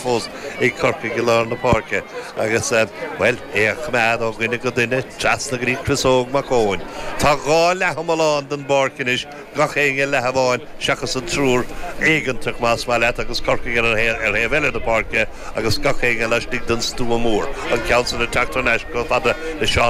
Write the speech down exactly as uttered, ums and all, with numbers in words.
fós ag Corcaigh i lár na páirce agus uh, well é a choimeád ó dhuine go duine trasna go dtí Chris Óg Mac Eoin. Tá dhá leathiomlán den bpáirc anois gach éinne leath amháin seachas an triúr éigeantach más maith leat agus Corcaigh ar ar thaobh eile na páirce agus gach éinne laistigh den stua mór an ceann san ag teacht anois go fada le Seán